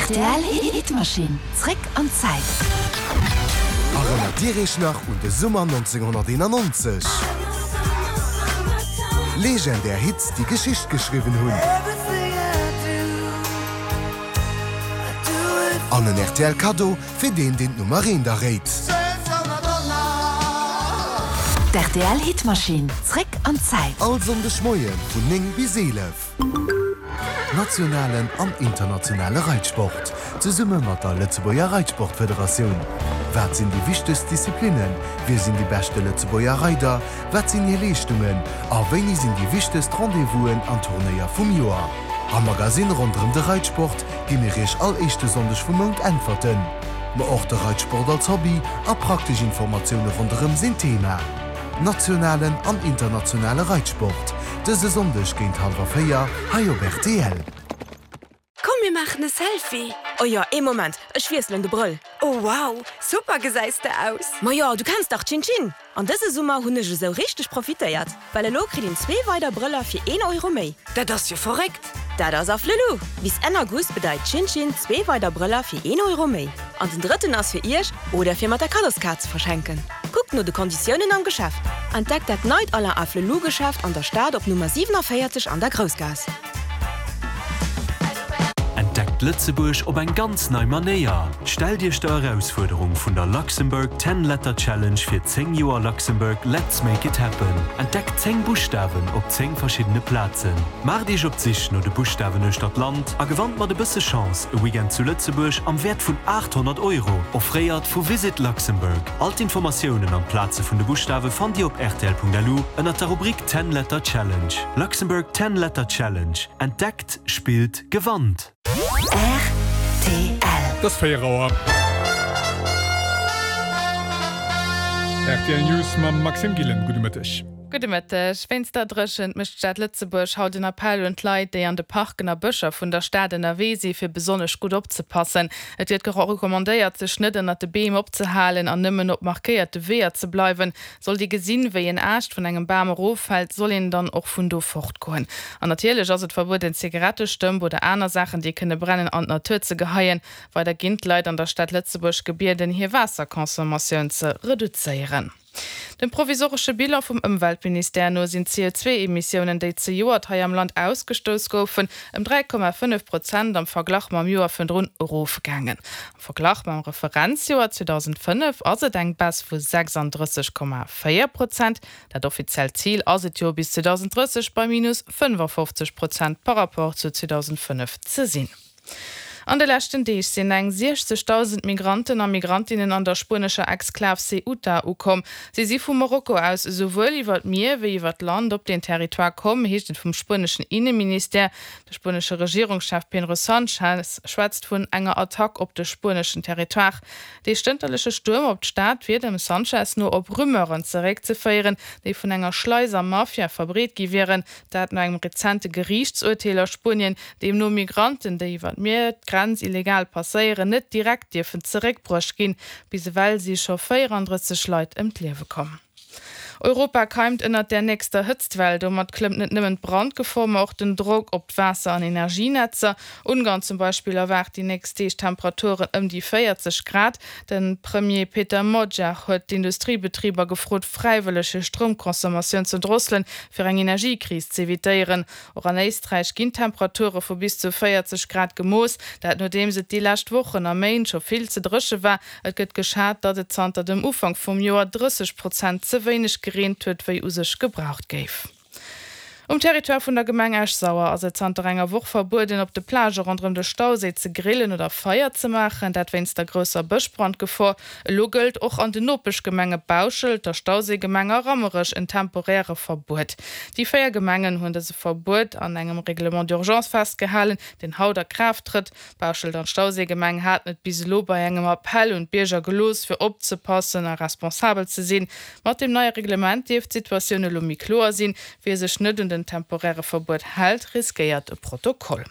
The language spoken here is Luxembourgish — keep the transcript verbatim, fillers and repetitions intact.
Rtl Hitmaschinn, zréck an d'Zäit. Erënnert Dir Iech nach un de Summer nonzénghonnerteenannonzeg? Legendär Hits, déi Geschicht geschriwwen hunn. An en rtl Kaddo fir deen, deen d'Nummer eent erréit. D'RTL Hitmaschinn, zréck an d'Zäit. All Sonndeg Moie vun néng bis eelef. Nationalen an internationale Reitsport, zesumme mat der Lëtzebuerger Reitsportfederatioun. Wat sinn déi wichtegst Disziplinnen? Wie sinn déi beschte Lëtzebuerger Reider? Wat sinn hir Leeschtungen? A wéini sinn déi wichtegst Rendez-vousen an Turnéier vum Joer? Am Magasinn ronderëm de Reitsport gi mir Iech all éischte Sonndeg vum Mount Äntwerten. Ma och de Reitsport als Hobby a praktesch Informatioune ronderëm sinn Thema. Nationalen an internationale Reitsport, dëse Sonndeg géint hallwer véier hei op rtl. Komm mir maachen e Selfie! Oh jo, ee Moment, ech wiesselen de Brëll. Oh wow, super gesäis de aus! Ma jo, du kenns dach Chin Chin! An dëse Summer hunn ech esou richteg profitéiert, well elo kritt een zwee weider Brëller fir een Euro méi. Dat ass jo verréckt! Dat ass Afflelou! Bis Enn August bedeit Chin Chin zwee weider Brëller fir een Euro méi. An den drëtten ass fir iech oder fir mat der Kaddoskaart ze verschenken. Kuckt no de Konditiounen am Geschäft. Entdeckt dat neit Alain Afflelou Geschäft an der Stad op Nummer siewenundvierzig an der Groussgaass. Entdeckt Lëtzebuerg op eng ganz nei Manéier. Stellt Iech der Erausfuerderung vun der Luxembourg Ten Letter Challenge fir zéng Joer Luxembourg Let's Make It Happen. Entdeckt zéng Buschtawen op zéng verschiddene Plazen. Maacht Iech op d'Sich no de Buschtawen uechter d'Land a gewannt mat e bësse Chance e Weekend zu Lëtzebuerg am Wäert vun aathonnert Euro, offréiert vu Visit Luxembourg. All d'Informatiounen an d'Plaze vun de Buschtawe fannt Dir op rtl Punkt L U ënnert der Rubrik Ten Letter Challenge. Luxembourg Ten Letter Challenge. Entdeckt, spillt, gewannt! R T L. Et ass véier Auer. R T L News mam Maxime Gillen. Gudde Mëtteg. Gudde Mëtteg. Wéinst der Dréchent mécht d'Stad Lëtzebuerg haut en Appell un d'Leit, déi an de Parken a Bëscher vun der Stad ënnerwee si fir besonnesch gutt opzepassen. Et gëtt recommandéiert, sech net ënnert de Beem opzehalen an nëmmen op markéierte Weeër ze bleiwen. Sollt ee gesinn, wéi en Aascht vun engem Bam eroffält, soll een dann och vun do fortgoen. An natierlech ass et verbueden, Zigarettestëmp oder aner Saachen, déi kënne brennen, an d'Natur ze geheien. Weider ginn d'Leit an der Stad Lëtzebuerg gebieden, hir Waasserconsommatioun ze reduzéieren. Dem provisoresche Bilan vum Ëmweltministère no sinn d'C O zwee Emissiounen, déi zejoert hei am Land ausgestouss goufen, ëm dräi Komma fënnef Prozent am Verglach mam Joer virdrun erofgaangen. Am Verglach mam Referenzjoer zweedausendfënnef ass et eng Baisse vu sechsandrësseg Komma véier Prozent. Dat offiziellt Zil ass et jo, bis zweedausendrësseg bei minus fënnefafofzeg Prozent par rapport zu zweedausendfënnef ze sinn. An de leschten Deeg sinn eng siechzegdausend Migranten a Migrantinnen an der spuenescher Exklav Ceuta ukomm. Si si vu Marokko aus esouwuel iwwer d'Mier wéi iwwer d'Land op den Territoire komm, heescht et vum spueneschen Inneministère. De spuenesche Regierungschef Pedro Sánchez schwätzt vun enger Attack op de spueneschen Territoire. Dee stënterleche Stuerm op d'Stad wier dem Sánchez no op Rumeuren zeréckzeféieren, déi vun enger Schleiser-Mafia verbreet gi wieren. Dat no engem rezente Geriichtsurteel a Spuenien, deemno Migranten, déi iwwer d'Mier d'Grenz illegal passéieren, net direkt dierfen zeréckbruecht ginn. Bis ewell si scho véierandrësseg Leit ëm d'Liewe komm. Europa keimt ënnert der nächster Hëtztwell. Domat klëmmt net nëmmen d'Brandgefor, ma och den Drock op d'Waasser an Energienetzer. Ungarn zum Beispill erwaart déi nächst Deeg Temperaturen ëm déi véierzeg Grad. De Premier Péter Magyar huet d'Industriebetriber gefrot, fräiwëlleg hir Stroumconsommatioun ze drosselen, fir eng Energiekris z'evitéieren. Och an Éisträich ginn Temperature vu bis zu véierzeg Grad gemooss, dat nodeems et déi lescht Wochen a Méint scho vill ze dréche war. Et gëtt geschat, datt et zanter dem Ufank vum Joer drësseg Prozent ze wéineg gereent huet, wéi u sech gebraucht géif. Um Territoire vun der Gemeng Esch-Sauer ass et zanter enger Woch verbueden, op de Plagë ronderëm de Stauséi ze grillen oder Feier ze maachen, dat wéinst der grousser Bëschbrandgefor. Elo gëllt och an den Nopeschgemenge Bauschelt, der Stauséigemeng a Rammerech en temporäre Verbuet. Déi véier Gemengen hunn dëse Verbuet an engem Règlement d'urgence festgehalen, deen haut a Kraaft trëtt. Bauschelt an d'Stauséigemeng haten et bis elo bei engem Appell un d'Bierger gelooss, fir opzepassen a responsabel ze sinn. Mat dem neie Reglement dierft d'Situatioun elo méi kloer sinn. Wie sech net un den temporäre Verbuet hält, riskéiert e Protokoll.